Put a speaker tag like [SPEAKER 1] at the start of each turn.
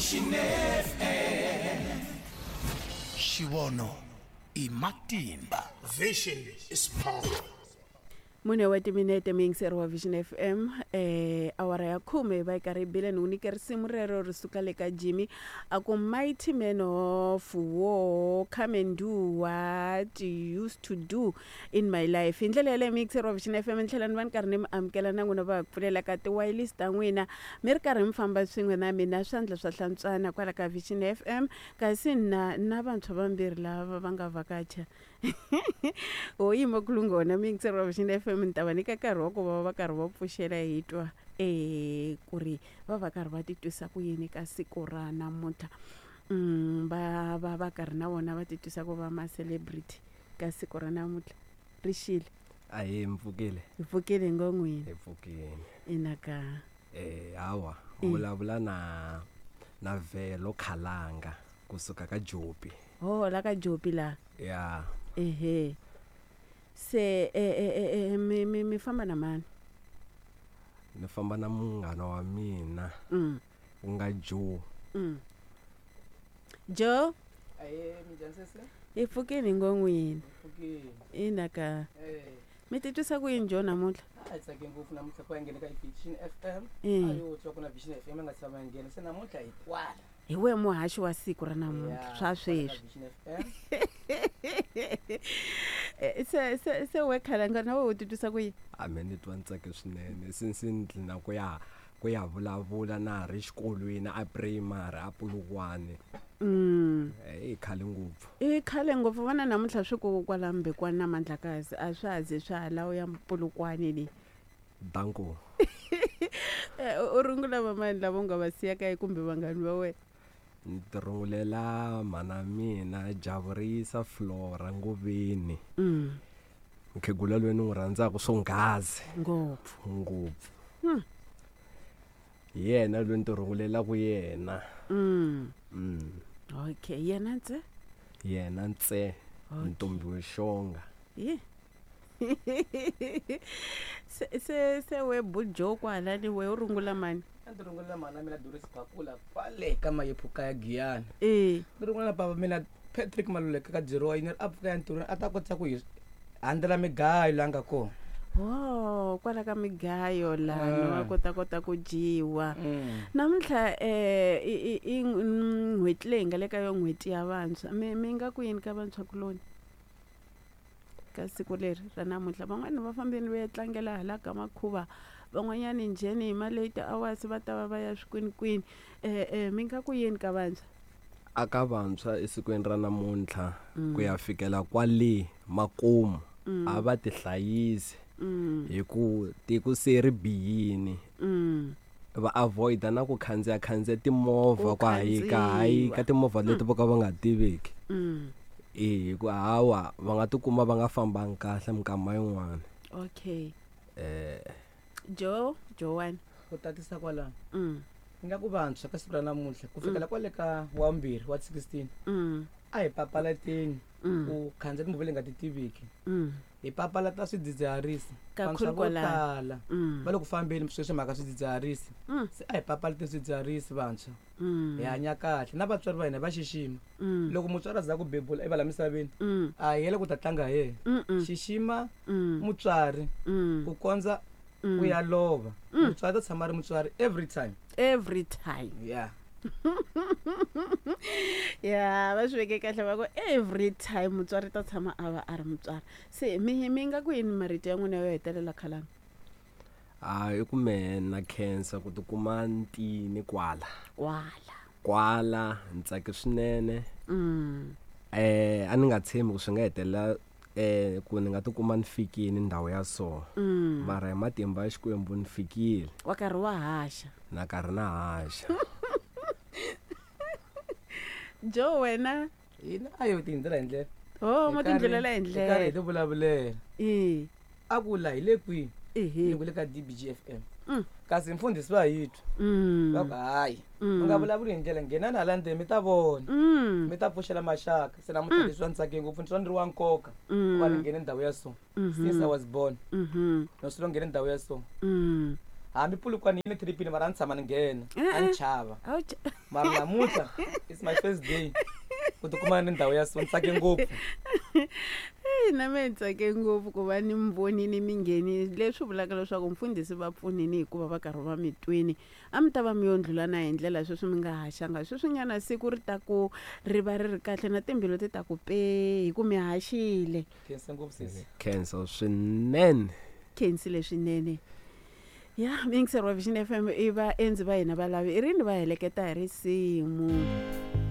[SPEAKER 1] Vision FM. Xivono i matimba.
[SPEAKER 2] Vision is power.
[SPEAKER 3] Mune wa timinete muyingiseri wa Vision FM eh awara ya khume yi va yi karhi yi bile ni ku nyike risimu rero ri suka le ka Jimmy a ku mighty man of war come and do what you used to do in my life hi ndlela yaleyo muyingiseri wa Vision FM ni tlhela ni va ni karhi ni mi amukela na n'wina va pfulela ka tiwayilisi ta n'wina mi ri karhi mi famba swin'we na mina swandla swa hlantswana kwala ka Vision FM kasi na na vantshwa vambirhi lava va nga vhakacha ho yima kulunghona muyingiseri wa Vision FM ni ta va nyika nkarhi wa ku va va karhi va pfuxela hi twa um ku ri va va karhi va titwisa ku yini ka siku ra namuntlha va va va karhi na vona va titwisa ku va ma-celebrity ka siku ra namuntlha ri xile.
[SPEAKER 4] Ahee, mi pfukile?
[SPEAKER 3] Hi pfukile ngo n'wina.
[SPEAKER 4] Hi pfukile.
[SPEAKER 3] Ina ka.
[SPEAKER 4] Eh, hawa, vulavula na na Vhelo Khalanga kusuka ka Jopi.
[SPEAKER 3] Ho la ka Jopi la.
[SPEAKER 4] Ya.
[SPEAKER 3] Ehe. Se e e e mi mi mi famba na mani?
[SPEAKER 4] Ni famba na munghana wa mina. Ku nga Joe.
[SPEAKER 3] Joe?
[SPEAKER 5] Ahee, minjhani sesi?
[SPEAKER 3] Hi pfukile ngo n'wina.
[SPEAKER 5] Pfukile.
[SPEAKER 3] Ina ka.
[SPEAKER 5] Eh.
[SPEAKER 3] Mi titwisa ku yini Joe namuntlha?
[SPEAKER 5] A hi tsake ngopfu namuntlha ku ya nghena ka Vision FM.
[SPEAKER 3] Eh.
[SPEAKER 5] A yo twa ku na Vision FM yi nga tshama yi nghena se namuntlha hi kwala.
[SPEAKER 3] Hi wehe muhaxi wa siku ra namuntlha
[SPEAKER 5] Ya,
[SPEAKER 3] swa
[SPEAKER 5] kwala ka
[SPEAKER 3] sweswi.
[SPEAKER 5] Vision FM.
[SPEAKER 3] Eh, se se se we khalanga na wehe u titwisa ku yini?
[SPEAKER 4] A me ni twa ni tsake swinene since ni dlina ku ya ku ya vulavula na ha ri xikolweni a primary a Polokwane. I khale ngopfu.
[SPEAKER 3] I khale ngopfu vona namuntlha swi ku kwala Mbekwana na Mandlakazi a swa ha ze swa ha laha u ya Polokwane le.
[SPEAKER 4] Danko.
[SPEAKER 3] Eh, u rungula vamani lava u nga va siya kaya kumbe vanghani va wena?
[SPEAKER 4] Ni ti rungulela mhana mina Javurisa Flora Ngoveni. Mukhegula loyi ni n'wi rhandzaka swonghazi.
[SPEAKER 3] Ngopfu.
[SPEAKER 4] Ngopfu. Hi yena loyi ni ti rungulelaka yena.
[SPEAKER 3] Okay, yena ntse?
[SPEAKER 4] Yena ntse. Ntombi wo xonga.
[SPEAKER 3] Ye. Se se se we bujo kwala ni we u rungula mani?
[SPEAKER 5] A ndzi rungula mhana mina Doris Phakula kwale ka Mayephuka ya Giyani.
[SPEAKER 3] Eh.
[SPEAKER 5] Ni rungula na bava mina Patrick Maluleke ka Dirowa yini a pfuka ya ntirhweni a ta kota ku hi handzela migayo laha nga kona.
[SPEAKER 3] Oh, kwala ka migayo laha wa kota kota ku dyiwa. Namuntlha eh i i n'hweti leyi nga le ka yo n'hweti ya vantshwa. Mi mi nga ku yini ka vantshwa kuloni? Ka siku leri ra namuntlha van'wani va fambeni va ya tlangela hala ka makhuva van'wanyani njheni hi ma late hours va ta va va ya swikwinikwini eh eh mi nga ku yini ka vantshwa?
[SPEAKER 4] A ka vantshwa esikwini ra namuntlha ku ya fikela kwale makumu a va tihlayisi hi ku tiko se ri bihini. Va avoid-a na ku khandziya khandziya timovha ku hayika hayika timovha leti vo ka va nga tiveki. E hi ku hawa va nga tikuma va nga fambangi kahle minkama yin'wana.
[SPEAKER 3] Okay. Joe, Joan.
[SPEAKER 5] Ku tatisa kwalano. Ni nga ku vantshwa ka siku ra namuntlha ku fikela kwale ka wa vumbirhi wa 16 a hi papalateni ku khandziya timovha leyi nga ti tiviki. Hi papalata swidzidziharisi.
[SPEAKER 3] Kakhulu
[SPEAKER 5] Vantshwa vo
[SPEAKER 3] kwalano.
[SPEAKER 5] tala va le ku fambeni sweswi mhaka swidzidziharisi. Se a hi papalateni swidzidziharisi vantshwa. Hi hanya kahle na vatswari va hina va xixima. Loko mutswari a za ku bebula i va la misaveni a hi yele ku ta tlanga hi yena. Xixima mutswari ku kondza u ya lova. Mutswari ta tshama ri mutswari every time.
[SPEAKER 3] Every time.
[SPEAKER 5] Yeah.
[SPEAKER 3] Ya va swi veke kahle va ku every time mutswari ta tshama a va a ri mutswari. Se mi mi nga ku yini marito ya n'wina yo hetelela khalanga?
[SPEAKER 4] A i ku mehe na khensa ku tikuma ntini kwala.
[SPEAKER 3] Kwala.
[SPEAKER 4] Kwala ni tsake swinene. Eh a ni nga tshembi ku swi nga hetelela eh ku ni nga tikuma ni fikini ndhawu ya so. Mara hi matimba ya Xikwembu ni fikile.
[SPEAKER 3] Wa karhi wa haxa.
[SPEAKER 4] Na karhi na haxa.
[SPEAKER 3] Joe wena?
[SPEAKER 5] Hina a yo tindlela hi ndlela.
[SPEAKER 3] Oh, mo tindlela hi
[SPEAKER 5] Hi
[SPEAKER 3] ndlela.
[SPEAKER 5] karhi hi ti vulavulela.
[SPEAKER 3] Eh.
[SPEAKER 5] A ku la hi le kwihi?
[SPEAKER 3] Ehe.
[SPEAKER 5] Ni ku le ka DBG FM. Kasi mfundhisi va hi twa. Va ku hayi. U nga vulavuli hi ndlela nghenani hala ndzeni mi ta vona. Mi ta pfuxela maxaka. Se namuntlha leswi ni tsake ngopfu ni twa ni ri wa nkoka ku va ni nghene ndhawu ya so. Since I was born. No swi lo nghene ndhawu ya so. Hambi Polokwane yi ni tripini mara a ni tshama ni nghena, a ni chava.
[SPEAKER 3] A wu
[SPEAKER 5] Mara namuntlha it's my first day ku tikuma ni ndhawu ya so, ni tsake ngopfu.
[SPEAKER 3] Eyi, na mehe ni tsake ngopfu ku va ni mi vonini mi nghenini, leswi vulaka leswaku mfundhisi va pfunini hikuva va karhi va mi twini. A mi ta va mi yo ndlula na hi ndlela sweswi mi nga haxanga sweswinyana, siku ri ta ku ri va ri ri kahle na timbilu ti ta ku pe hi ku mi haxile.
[SPEAKER 5] Khensa ngopfu sesi.
[SPEAKER 4] Khensa swinene.
[SPEAKER 3] Khensile swinene. Ya miyingiseri wa Vision FM, i vaendzi va hina valavi i rini va heleketa hi risimu.